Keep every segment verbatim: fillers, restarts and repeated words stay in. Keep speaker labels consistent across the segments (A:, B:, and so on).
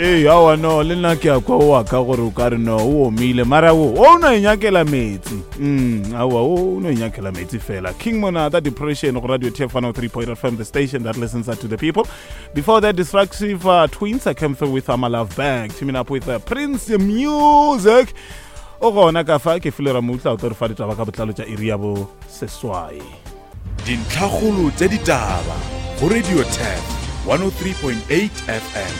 A: Ee, aowa, no, le nna ke a kwa o wa ka gore o ka re no o omile, mara wo o no inyakela metsi. mm aowa, o no inyakela metsi fela. King Monada, Depression, go Radio T F one oh three point F M, the station that listens to the people. Before that, Destructive uh, Twins, I came through with uh, My Love Bag, teaming up with uh, Prince Music. O gona ka fa ke file Ramutla o tlo re fa ditaba ka botlalo tša iri ya bo seswai.
B: Dintlhakgolo tša ditaba go Radio Tap one oh three point eight F M.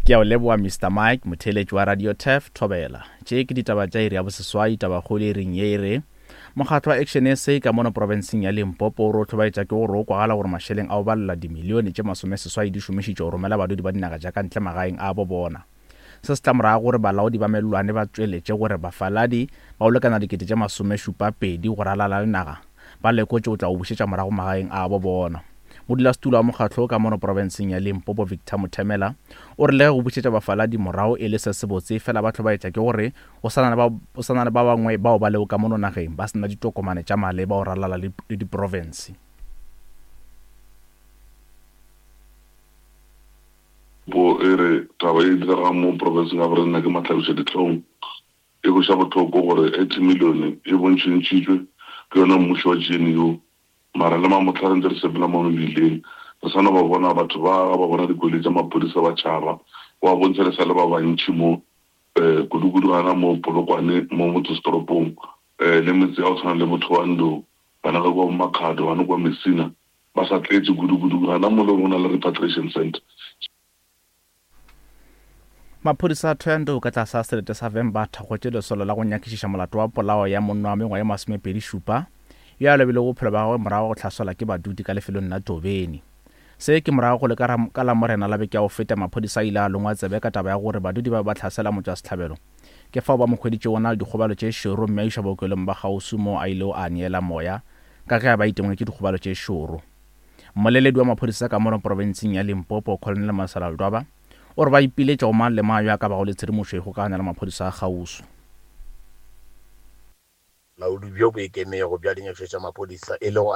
C: Ke a o leboa, Mister Mike. Motheeletši wa Radio Taf, thobela. Tše ke ditaba tša iri ya boseswai. Tabakgolo e reng ye e re mokgatlo wa Action S A ka mono profenseng ya Limpopo o re o hlobaetša ke gore o kwagala gore mašeleng a o balela dimilione tše masomeseswai di šomišitšwe go romela badudi ba dinaga tša ka ntle magaeng a bo bona. Se se tla morago gore balaodi ba mellwane ba tšweletše gore bafaladi ba o lekana dikete tše masomešupa pedi go ralala le naga ba lekotše o tla o bušetša morago magaeng a bo bona. Modulasetulo wa mokgatlo ka mono profenseng ya Limpopo, Victor Mothemela, o re le ge go bušetša bafaladi morago e le se sebotse, fela ba hlobaetša ke gore o sa na le ba bangwe bao ba lego ka mono nageng ba se na ditokomane tša maleba go ralala le diprofense.
D: Po e re taba e diregang mo profenseng ya borena ke mahlabiša dihlong. E kweša bohloko gore eighty million e bontšhintšhitšwe ke yona mmušo wa G N U, mara le mamohla re ntse re sepela mo mebileng re sa no ba bona batho ba ga ba bona dikoloi tša maphodisa ba tšhaba. Go a bontšha re sa le ba bantši mo um kudu-kudu gana mo Polokwane, mo motsesetoropong, um le metse ya go tshwana le bo Thohoyandou, gana ka kwa bo Makhado, gana kwa Messina, ba sa tletše kudu-kudu gana mo le go na le repatriation center.
C: Maphodisa a Thohoyandou ka tlase ga selete sa Vhembe a thakgotše lesolo la go nyakišiša molato wa polao ya monna wa mengwaga ye masomepedi šupa yo a lobilego bophelo bja gagwe morago go hlaselwa ke badudi ka lefelong la Tobeni. Se ke morago go le ka Lamorena la beke ya go feta maphodisa a ile a longwa tsebe ka taba ya gore badudi ba be ba hlasela motšwasehlabelo. Ke fao ba mo hweditšego na le dikgobalo tše šoro mme a išwa bookelong ba kgauswi moo a ilego a neela moya ka ge a ba itemogetše dikgobalo tše šoro. Mmoleledi wa maphodisa ka mono profenseng ya Limpopo, Colonel Masala Ledwaba, o re ba ipiletša go mang le mang yo a ka bago le tshedimošo e kgokaganya le maphodisa a kgauswi.
E: Bolaodi bjo bo ikemego bja dinyakišišo tša maphodisa e lego